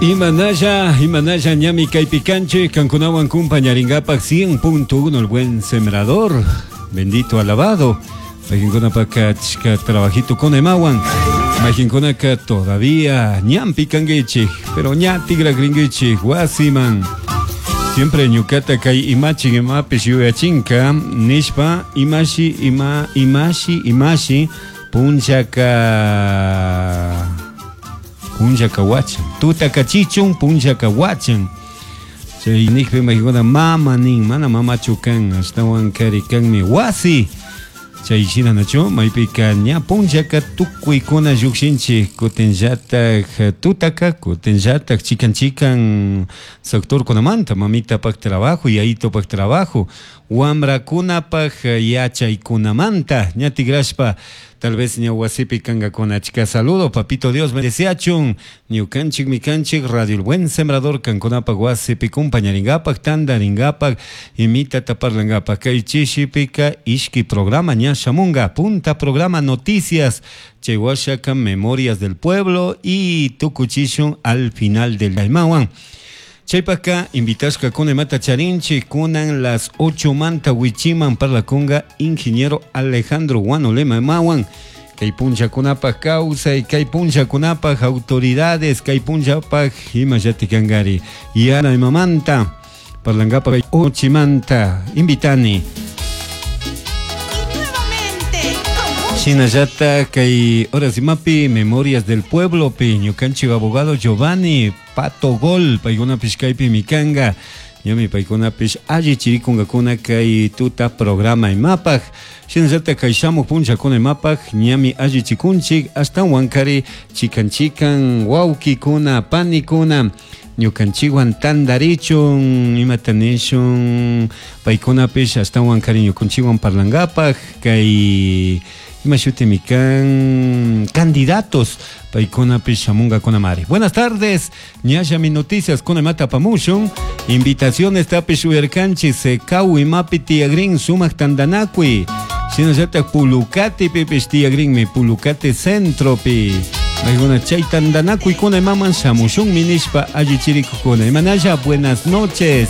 Imanalla, imanalla ñami kaypi kanchik kankunawan kumpañarinkapak 100.1 el buen sembrador. Bendito alabado. Mayqinkunapaka achka trabajito kuna imawan. Mayqinkunaka todavía ñanpi kankichik, pero ña tigragrinkichik wasiman. Siempre ñukata kay imachin imapish yuyachinka nishpa imashi ima imashi imashi punllaka punllaka wachan tutaka chichun punllaka wachan chay nikpi mayqikuna mama nin mana mamachu kan ashtawan kari kanmi wasi chay shina nachu maypika ña punllaka tukuykuna llukshinchik kutinllatak tutaka kutinllatak chikan chikan sectorkunamanta mamitapak trabajo yayitopak trabajo wamrakunapak yachaykunamanta ña tigrashpa tal vez ña wasipi kankakuna achka saludo papito Dios bendeciachun ñukanchik mikanchik Radio El Buen Sembrador kankunapak wasipi kumpañarinkapak tantarinkapak imitata parlankapak kay chishipika ishki programa ña shamunga punta programa noticias chay washaka memorias del pueblo y tukuchishun al final del imawan Chaypaka invitashkakuna imata charinchik kunan las 8 manta wichiman parlakunga ingeniero Alejandro Guanolema imawan kay punllakunapak kawsay kay punllakunapak autoridades kay punllapak imallati kankari yana imamanta parlankapak ochimanta invitani Shinallata kay horas imapi Memorias del Pueblo pi ñukanchik abogado Giovanni Pato Gol paykunapish kaypi mikanga ñami paykunapish alli chirikunkakuna kay tuta programa imapaj shinallata kay shamuj punllakuna imapaj ñami alli chikunchik ashtawan kari chikan chikan wawkikuna panikuna ñukanchikwan tantarichun imata nishun paykunapish ashtawan kari ñukanchikwan parlankapak kay ima shutimi kan candidatos paykunapish shamunkakunamari. Buenas tardes, ñallami noticias kuna imata apamushun invitaciones tapish uyarkanchik Secaw imapi tiyagrin sumak tantanakuy shinallatak Pulucatipipish tiyagrinmi Pulucate centropi paykuna chay tantanakuykuna imaman shamushunmi nishpa allichirikukuna imanalla buenas noches.